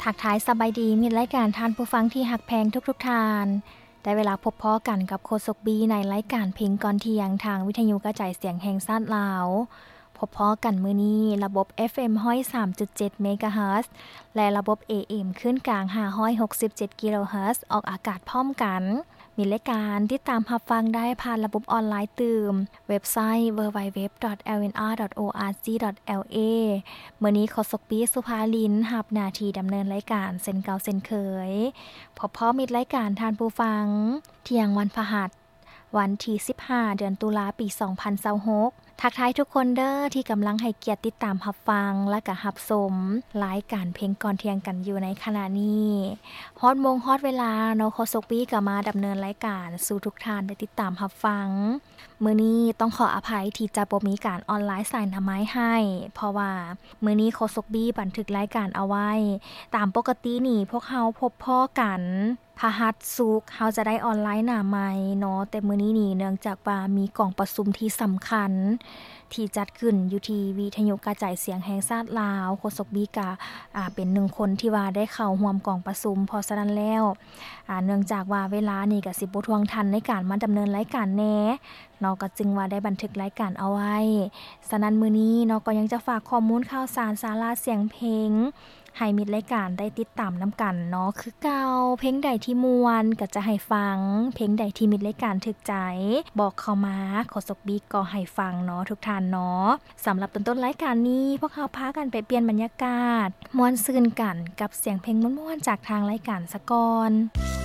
ທັກທາຍສະບາຍດີ ມິດລາຍການທ່ານຜູ້ຟັງທີ່ຮັກແພງທຸກໆທ່ານ. ໄດ້ເວລາພົບພໍ້ກັນກັບໂຄສົກບີໃນລາຍການເພງກ່ອນທ່ຽງ ທາງວິທະຍຸກະຈາຍສຽງແຫ່ງຊາດລາວ. ພົບພໍ້ກັນມື້ນີ້ ລະບົບ ເອັຟເອັມ ຮ້ອຍສາມຈຸດເຈັດ ເມກາເຮີດ ແລະ ລະບົບ ເອເອັມ ຄື້ນກາງ ຫ້າຮ້ອຍຫົກສິບເຈັດ ກິໂລເຮີດ ອອກອາກາດພ້ອມກັນ. ມິດລາຍການຕິດຕາມຮັບຟັງໄດ້ຜ່ານລະບົບອອນລາຍຕື່ມ ເວັບໄຊ ເວີ ດັບເບິນຢູ ດັບເບິນຢູ ດອດ ແອລ ເອັນ ອາ ດອດ ໂອ ອາ ຈີ ດອດ ແອລ ເອ. ມື້ນີ້ໂຄສົກບີ ສຸພາລິນ ຮັບໜ້າທີ່ດຳເນີນລາຍການເຊັ່ນເກົ່າເຊັ່ນເຄີຍ. ພົບພໍ້ມິດລາຍການທ່ານຜູ້ຟັງ ທ່ຽງວັນພະຫັດ ວັນທີສິບຫ້າ ເດືອນຕຸລາ ປີສອງພັນຊາວຫົກ. ທັກທາຍທຸກຄົນເດີ ທີ່ກຳລັງໃຫ້ກຽດຕິດຕາມຮັບຟັງ ແລະ ກະຮັບຊົມລາຍການເພງກ່ອນທ່ຽງກັນຢູ່ໃນຂະນະນີ້. ຮອດໂມງຮອດເວລາເນາະ ໂຄສົກບີກະມາດຳເນີນລາຍການສູ່ທຸກທ່ານໄດ້ຕິດຕາມຮັບຟັງ. ມື້ນີ້ຕ້ອງຂໍອະໄພທີ່ຈະບໍ່ມີການອອນລາຍສາຍໜ້າໄມ້ໃຫ້ ເພາະວ່າມື້ນີ້ໂຄສົກບີບັນທຶກລາຍການເອົາໄວ້. ຕາມປົກກະຕິນີ້ພວກເຮົາພົບພໍ້ກັນ ພະຫັດ ສຸກ ເຮົາຈະໄດ້ອອນລາຍໜ້າໄມ້ເນາະ, ແຕ່ມື້ນີ້ນີ້ເນື່ອງຈາກວ່າມີກອງປະຊຸມທີ່ສຳຄັນທີ່ຈັດຂຶ້ນຢູ່ທີ່ວິທະຍຸກະຈາຍສຽງແຫ່ງຊາດລາວ, ໂຄສົກບີກະ ອາ ເປັນໜຶ່ງຄົນທີ່ວ່າໄດ້ເຂົ້າຮ່ວມກອງປະຊຸມ, ເພາະສະນັ້ນແລ້ວ ອາ ເນື່ອງຈາກວ່າເວລານີ້ກະຊິບໍ່ທ່ວງທັນໃນການມາດຳເນີນລາຍການແດ່ເນາະ, ກະຈຶ່ງວ່າໄດ້ບັນທຶກລາຍການເອົາໄວ້. ສະນັ້ນມື້ນີ້ເນາະ ກໍຍັງຈະຝາກຂໍ້ມູນຂ່າວສານ ສາລະສຽງເພງ ໃຫ້ມິດລາຍການໄດ້ຕິດຕາມນຳກັນເນາະ ຄືເກົ່າ. ເພງໃດທີ່ມ່ວນກໍຈະໃຫ້ຟັງ, ເພງໃດທີ່ມິດລາຍການຖືກໃຈ ບອກເຂົ້າມາ, ໂຄສົກບີກໍໃຫ້ຟັງເນາະ ທຸກທ່ານເນາະ. ສຳລັບຕອນຕົ້ນລາຍການນີ້ ພວກເຮົາພາກັນໄປປ່ຽນບັນຍາກາດ ມ່ວນຊື່ນກັນກັບສຽງເພງມ່ວນໆ ຈາກທາງລາຍການສາກ່ອນ.